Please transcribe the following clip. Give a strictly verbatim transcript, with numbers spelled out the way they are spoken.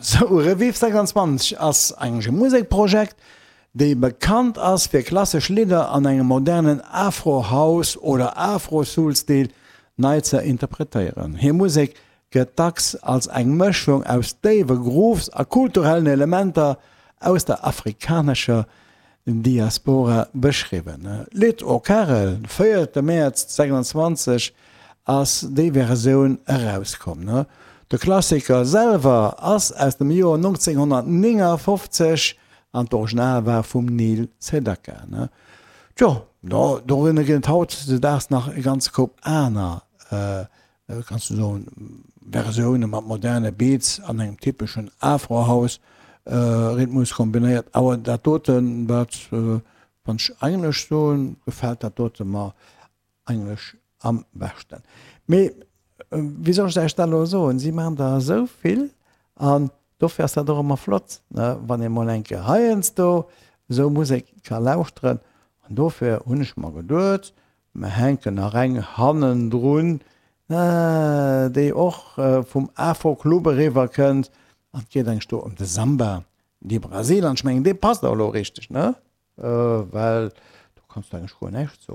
Sou, Revive sechsundzwanzeg ass eigentlech e Musekprojekt, déi bekannt ass fir klassesch Lidder an engem modernen Afro-House oder Afro-Soul-Stil nei ze interpretéieren. Hir Musek gëtt dacks als eng Mëschung aus déiwe Grooves a kulturellen Elementer aus der afrikanescher Diaspora beschriwwen. D'Lidd O Karel, véierte Mäerz sechsundzwanzeg ass déi Versioun erauskomm. De Klassiker selwer ass aus dem Joer nonzénghonnertnéngafofzeg an d'Original war vum Neil Sedaka. Tjo, dorënner ginn et hautdesdaags nach e ganze Koup aner, kanns du soen, Versioune mat moderne Beats an engem typeschen Afro-House Rhythmus kombinéiert. Awer dat doten, wat, wann ech eigentlech soen, gefält dat dote mer eigentlech am beschten. Mee wéi soll ech Iech dat elo soen, si maachen der esou vill an dofir ass dat och ëmmer flott, ne, wann ee mol eng Kéier heiansdo esou Musek ka lauschteren. An dofir hunn ech mer geduet, mer hänken nach eng hannendrun, déi och vum Afro-Club eriwwer kënnt. An et geet eigentlech do ëm de Samba de Brasil. An ech mengen, dee passt och elo richteg, ne, well do kanns du eigentlech guer näischt soen.